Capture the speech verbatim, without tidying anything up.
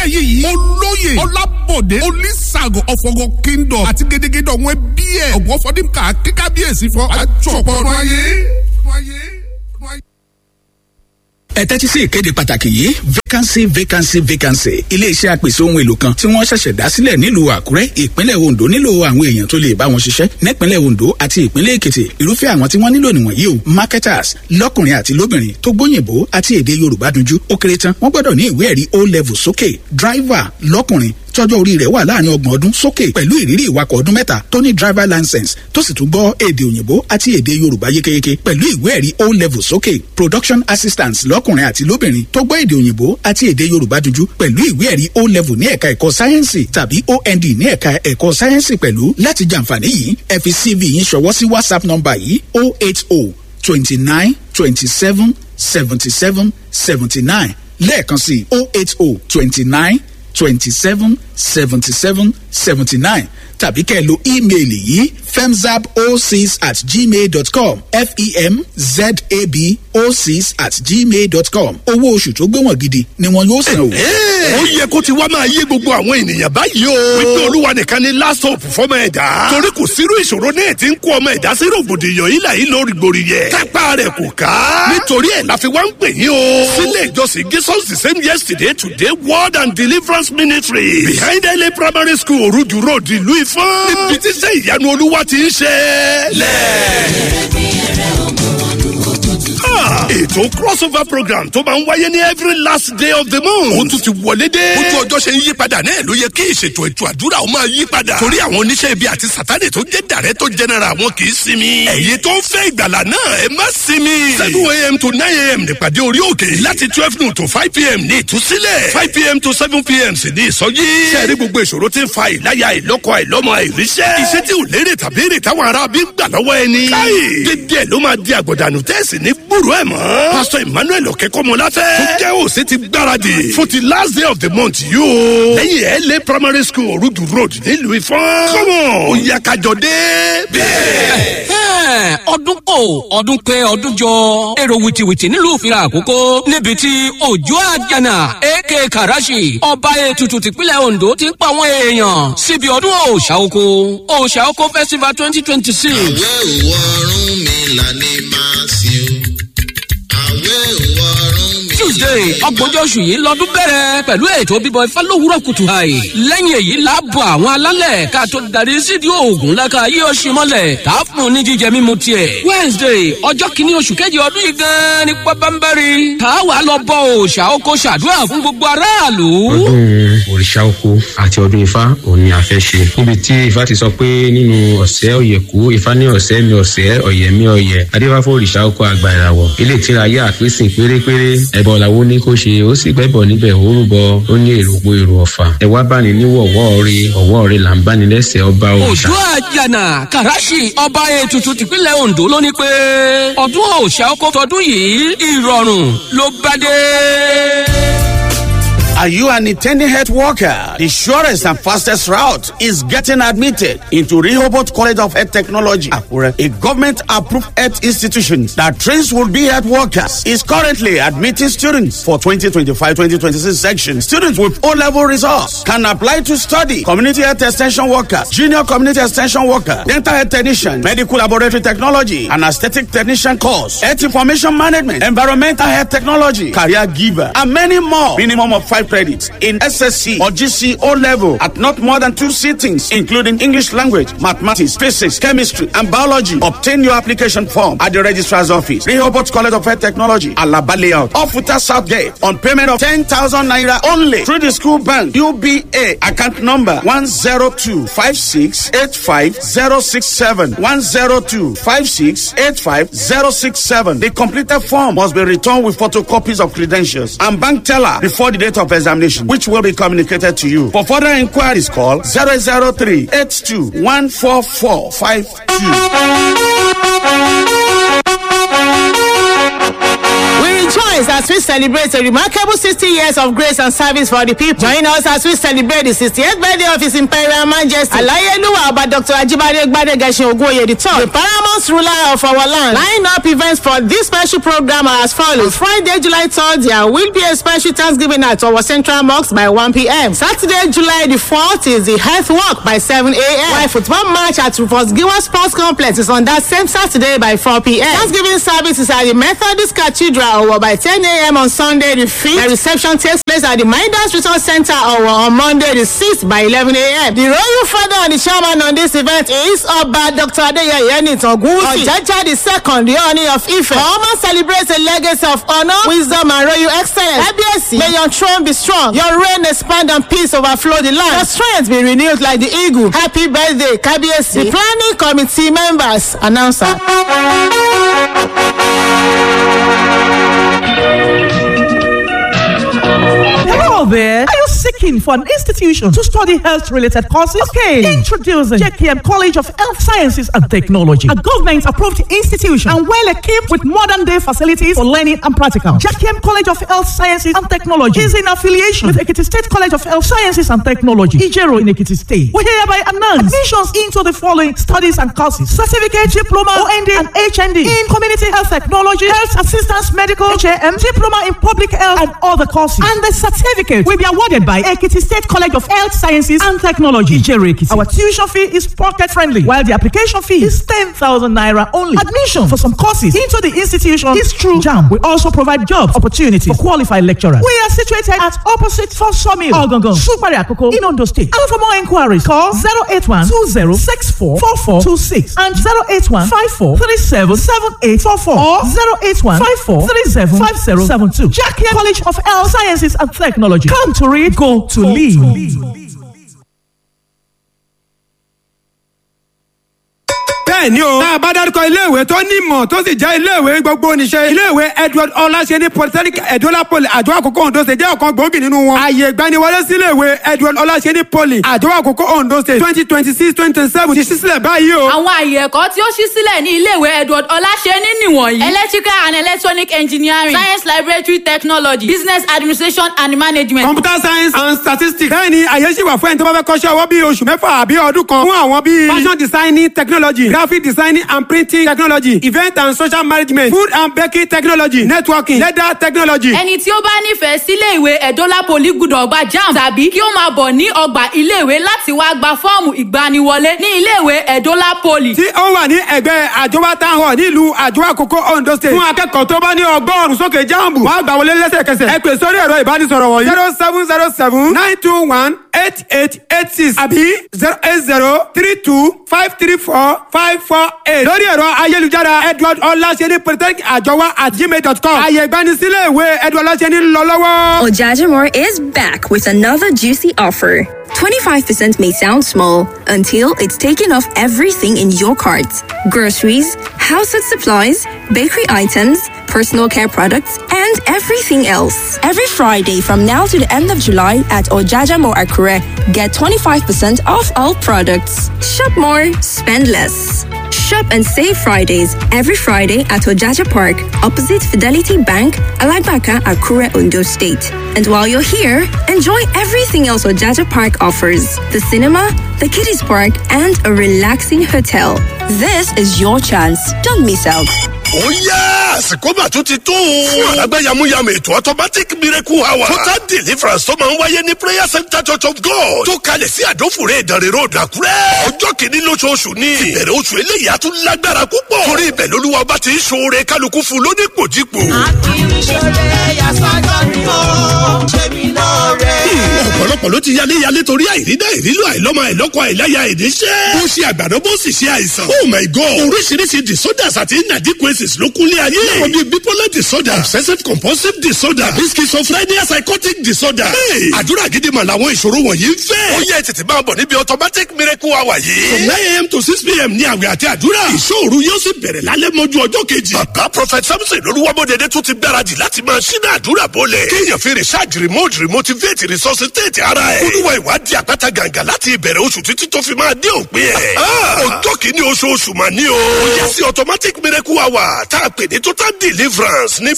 Adéyẹyẹ yìí olóyè Ọlábọ̀dé Olísàgò ọ̀fọ̀gọ̀ kingdom àti gédégédé ọ̀wọ́n ẹbí ẹ̀ ọ̀gbọ́n fọdínkà kíkábíyèsí fọ́ àjọpọ̀ ọdún ayé. Ẹ tẹ́tí sí ìkéde pàtàkì yìí. Vacancy, vacancy, vacancy. Iléeṣẹ́ apèsè ohun èlò kan tí wọ́n ṣẹ̀ṣẹ̀ dá sílẹ̀ nílùú Àkúrẹ́, ìpínlẹ̀ Ondo, nílò àwọn èèyàn tó lè bá wọn ṣiṣẹ́ nípínlẹ̀ Ondo àti ìpínlẹ̀ Èkìtì. Irúfẹ́ àwọn tí wọ́n nílò nìwọ̀nyí o: marketers lọ́kùnrin àti lóbìnrin tó gbóyìnbó àti èdè Yorùbá dunjú. Ó kéré tán, wọ́n gbọ́dọ̀ ní ìwé ẹ̀rí O level sókè. Driver lọ́kùnrin tọ́jọ́ orí rẹ̀ wà láàrin ọgbọ̀n ọdún sókè, pẹ̀lú ìrírí ìwakọ̀ ọdún mẹ́ta, tó ní driver license, tó sì tún gbọ́ èdè òyìnbó àti èdè Yorùbá yékéyéké, pẹ̀lú ìwé ẹ̀rí O level sókè. Production assistants lọ́kùnrin àti lóbìnrin tó gbọ́ èdè òyìnbó àti èdè Yorùbá dunjú, pẹ̀lú ìwé ẹ̀rí O level ní ẹ̀ka ẹ̀kọ́ sáyẹ́ǹsì tàbí O N D ní ẹ̀ka ẹ̀kọ́ sáyẹ́ǹsì pẹ̀lú. Láti jàǹfààní yìí, ẹ fi C V yín ṣọwọ́ sí WhatsApp nọ́mbà yìí: oh eight oh twenty nine twenty seven seventy seven seventy nine. Lẹ́ẹ̀kan sí: oh eight oh twenty nine twenty seven seventy seven seventy nine. Tàbí kẹ́ ẹ lo ímeèlì yìí: femzab oh six at gmail dot com, F E M Z A B oh six at gmail dot com. Owó oṣù tó gbéwọ̀n gidi ni wọn yóò san o. Ó yẹ kó ti wá máa yé gbogbo àwọn ènìyàn báyìí o, wípé Olúwa nìkan ni last hope fọmọ ẹ̀dá. Torí kò sírú ìṣòro náà tí ń kó ọmọ ẹ̀dá sí rògbòdìyàn yìí láyé lórí gbòòrì kápá rẹ̀ kò ká. Nítorí ẹ̀ la fi wá ń pè yín o, sílé ìjọsìn Jesus the Same Yesterday Today Word and Deliverance Ministry, behind L A Primary School, Oruju Road, ìlú Ifọ̀n, níbi tí sẹ́ ìyanu Olúwa ti ń ṣe lẹ́ẹ̀. Ètò crossover program tó máa ń wáyé ní every last day of the month, ó tún ti wọlé dé. Ojú ọjọ́ ṣe ń yí padà náà ló yẹ kí ìṣètò ètò àdúrà ó máa yí padà. Torí àwọn oníṣẹ́ ibi àti Sátani tó jẹ́ director general wọn kì í sinmi. Ẹ̀yin tó ń fẹ́ ìgbàlà náà, ẹ má sinmi. seven a m to nine a m nípàdé orí òkè. Láti twelve noon to five p m ní ìtúsílẹ̀. five p m to seven p m sì ní ìsọjí. Sẹ́ẹ̀rí gbogbo ìṣòro tí ń fa ìláyà, ìlọ́kọ, àìlọ́mọ, àìríṣẹ́, iṣẹ́ tí ò lérè tàbí èrè táwọn ará bí ń gbà lọ́wọ́ ẹni. Káyì dédé ẹ̀ ló máa di àgbọ̀dànù tẹ́sí ní gbúrú ẹ̀ mọ́. Pásítọ̀ Emmanuel Ọ̀kẹ́kọ́mọláfẹ́ tó jẹ́ òsè ti gbáradì fún ti last day of the month yìí o. Lẹ́yìn L A Primary School, Orudu Road, nílùú Ifọ̀n. Come on, ó yá kájọ dé bẹ́ẹ̀. Ọdún kò ọdún pé ọdún jọ, èrò wìtìwìtì nílùú Ìfira Àkókò, níbi tí Òjò Àjànà aka Karashi, ọba ètùtù tìpínlẹ̀ Ondo, ti ń pa àwọn èèyàn síbi ọdún òòṣà oko, Òòṣà Oko Festival twenty twenty six. Àwẹ̀ òwò ọ̀run mi là ní máa sìn o. Àwẹ̀ òwò ọ̀run mi. Tuesday, ọgbọ̀njọ́ oṣù yìí lọ́dún bẹ̀rẹ̀ pẹ̀lú ètò bíbọ ifá lówùúrọ̀ kùtù àì. Lẹ́yìn èyí láàbọ̀ àwọn alálẹ̀ ká tó darí sídìí oògùn láka yí oṣù mọ́lẹ̀ tá a fún un ní jíjẹ mímu tiẹ̀. Wednesday, ọjọ́ kìíní oṣù kejì ọdún yìí gan-an ní pábánbárì tá a wà lọ bọ òòṣà oko, ṣàdúrà fún gbogbo aráàlú. Ọdún òrìṣà oko àti ọdún ifá òun ni a fẹ́ ṣe, níbi tí ifá ti sọ pé nínú ọ̀sẹ̀ ọ̀yẹ̀kú, ifá ní ọ̀sẹ̀ mi ọ̀sẹ̀ ọ̀yẹ̀ mi ọ̀yẹ̀, adéfáfọ́ òrìṣà oko àgbà ìràwọ̀ ilé ìtira ayé àpèsè pérépéré, ẹ̀bọ̀ làwọn ní kó ṣe, ó sì gbẹ́bọ̀ níbẹ̀, ó rúbọ, ó ní èrò po èrò ọ̀fà, ẹ wá bá ní níwọ̀wọ́ rí ọ̀wọ́ rí là ń bá ní lẹ́sẹ̀ ọba òrìṣà. Òjò Àjànà Kàràṣì, ọba ètùtù tìpínlẹ̀ Ondo, ló ní pé ọdún òòṣà oko tọdún yìí, ìrọ̀rùn ló bá dé. Are you an intending health worker? The surest and fastest route is getting admitted into Rehoboth College of Health Technology, Akure, a government-approved health institution that trains would-be health workers, is currently admitting students for twenty twenty-five twenty twenty-six section. Students with O-level results can apply to study community health extension workers, junior community extension worker, dental health technician, medical laboratory technology, and aesthetic technician course, health information management, environmental health technology, career giver, and many more. Minimum of five credits in S S C or G C O level at not more than two sittings, including English language, mathematics, physics, chemistry, and biology. Obtain your application form at the registrar's office, Rehoboth College of Health Technology, Alaba Layout, Ofuta South Gate, on payment of ten thousand naira only through the school bank, U B A, account number one zero two five six eight five zero six seven, one zero two five six eight five zero six seven. The completed form must be returned with photocopies of credentials and bank teller before the date of examination, which will be communicated to you. For further inquiries, call zero zero three eight two one four four five two. We rejoice and as we celebrate a remarkable sixty years of grace and service for the people. Join us as we celebrate the sixty-eighth birthday of His Imperial Majesty Alayeluwa Oba Doctor Ajibade Gbadegesin Ogunoye the third, the paramount ruler of our land. Line up events for this special program are as follows. Friday, July third, there will be a special Thanksgiving at our Central Mosque by one p.m. Saturday, July the fourth is the health walk by seven a.m. While football match at Rufus Giwa Sports Complex is on that same Saturday by four p.m. Thanksgiving service is at the Methodist Cathedral Owo by ten a.m. on Sunday the fifth. The reception takes place at the Midas Resource Center Owo on Monday the sixth by eleven a.m. The royal father and the chairman on this event is Oba Doctor Adeyeye Enitan Ogunwusi, Ojaja the second, the Ooni of Ife. Oma celebrates a legacy of honor, wisdom and royal excellence. Kábíyèsí, may your throne be strong, your reign expand and peace overflow the land. Your strength be renewed like the eagle. Happy birthday, Kábíyèsí. The planning committee members, announcer. Hello there. Are you seeking for an institution to study health-related courses? Okay. Introducing J K M College of Health Sciences and Technology, a government-approved institution and well-equipped with modern-day facilities for learning and practical. J K M College of Health Sciences and Technology is in affiliation with Ekiti State College of Health Sciences and Technology, Ijero in Ekiti State. We hereby announce admissions into the following studies and courses: certificate, diploma, O N D, and H N D in Community Health Technology, Health Assistance Medical, H A M, Diploma in Public Health, and other courses. And the certificate will be awarded by Ekiti State College of Health Sciences and Technology, Ijero Ekiti. Our tuition fee is pocket friendly, while the application fee is ten thousand naira only. Admission for some courses into the institution is through JAMB. We also provide job opportunities for qualified lecturers. We are situated at opposite First Sawmill, Ogangan, Supari Akoko, in Ondo State. And for more inquiries, call zero eight one two zero six four four four two six and zero eight one five four three seven seven eight four four or zero eight one five four three seven five zero seven two. J K M College of Health Sciences and Technology. Come to read, go to lead. Bẹ́ẹ̀ ni o. Tá a bá dárúkọ iléèwé tó ní ìmọ̀ tó sì jẹ́ iléèwé gbogbo oníṣẹ́. Iléèwé Edward Ọláṣẹ́ni Polytechnic Edola Poly Àjọ Àkókò Ondo State jẹ́ ọ̀kan gbòógì nínú wọn. Àyè ìgbaniwọlé sí iléèwé Edward Ọláṣẹ́ni Poly Àjọ Àkókò Ondo State twenty twenty six twenty twenty seven ti ṣí sílẹ̀ báyìí o. Àwọn àyè ẹ̀kọ́ tí ó ṣí sílẹ̀ ní iléèwé Edward Ọláṣẹ́ni nìwọ̀nyí. Electrical and Electronic Engineering, Science Laboratory Technology, Business Administration and Management, Computer Science and Statistics. Bẹ́ẹ̀ ni àyè ṣì wà fún ẹni tó bá fẹ́ kọ́ṣẹ́ ọwọ́ bíi oṣù mẹ́fà àbí ọdún kan fún àwọn bíi fashion designing technology, graphic designing and printing technology, event and social management, food and baking technology, networking, leather technology. Ẹni tí ó bá nífẹ̀ẹ́ sílé ìwé Edola Poly gbúdọ̀ gba JAMB tàbí kí ó máa bọ̀ ní ọgbà iléèwé láti wá gba fọ́ọ̀mù ìgbaniwọlé ní iléèwé Edola Poly. Tí ó wà ní ẹgbẹ́ Àjọwá Town Hall nílùú Àjọwá Àkókò Ondo State. Fún akẹ́kọ̀ọ́ tó bá ní ọgọ́rùn-ún sókè JAMB, wàá gbà wọlé lẹ́sẹ̀kẹsẹ̀. Ẹ pè sórí ẹ̀rọ ìbánisọ̀rọ̀ wọ̀nyí zero seven zero seven nine two one eight eight eight six àbí zero eight zero three two five three four five four eight lórí ẹ̀rọ ayélujára Edward Ọláṣẹ́ni Polytechnic Àjọwá at gmail dot com. Àyè ìgbanisílẹ̀ ìwé Edward Ọláṣẹ́ni ń lọ lọ́wọ́. Ojajamore is back with another juicy offer. twenty-five percent may sound small until it's taken off everything in your cart. Groceries, household supplies, bakery items, personal care products, and everything else. Every Friday from now to the end of July at Ojajamore Akure, get twenty-five percent off all products. Shop more, spend less. Shop and save Fridays every Friday at Ojaja Park, opposite Fidelity Bank, Alagbaka, Akure, Ondo State. And while you're here, enjoy everything else Ojaja Park offers: the cinema, the kiddies park, and a relaxing hotel. This is your chance. Don't miss out. Ó yá, àsìkò mà tún ti tó o. Fún àlágbá yamuyamu ètò automatic miracle hour. Total deliverance tó máa ń wáyé ní Prayer Center Church of God. Tó kalẹ̀ sí Àdófòrè Ìdànrè Road, Àkúrẹ́. Ọjọ́ kìíní lóṣooṣù ni. Ìbẹ̀rẹ̀ oṣù eléyìí á tún lágbára púpọ̀. Torí ibẹ̀ lolúwa ọba ti ń ṣoore kálukú fún lónípòjípò. Ọ̀pọ̀lọpọ̀ ló ti yálé yálé torí àìrídá ìrílò àìlọ́mọ àìlọ́kọ àìláya ìníṣẹ́. Bó ṣe àgbàdo bó sì ṣe àìsàn. Oh my God! Oríṣiríṣi disorders àti inadequacies ló kúnlé ayé. Láwọn bíi bipolar disorder, obsessive compulsive disorder, tàbí schizophrenia, psychotic disorder. Hey! Àdúrà gidi mà làwọn ìṣòro wọ̀nyí ń fẹ́. Ó yẹ tètè máa bọ̀ níbi automatic miracle hour yìí. From nine a.m. to six p.m. ní àwẹ̀ àti àdúrà. Ìṣòro yóò sì bẹ̀rẹ̀ lálẹ́ mọ́jú ọjọ́ kejì. Bàbá Prophet Samson Olúwamọ́dẹ̀dẹ̀ tún ti gbáradì láti máa ṣínà àdúrà bọ́lẹ̀. Kéèyàn fi research remote remotivate resuscitate ara ẹ̀. Olúwa ìwádìí àpáta gàǹgà láti ìbẹ̀rẹ̀ oṣù títí tó fi máa dé òpin ẹ̀. Ọjọ́ kìíní oṣooṣù mà ní o. Ó yẹ sí automatic miracle hour tá a pè ní total deliverance ní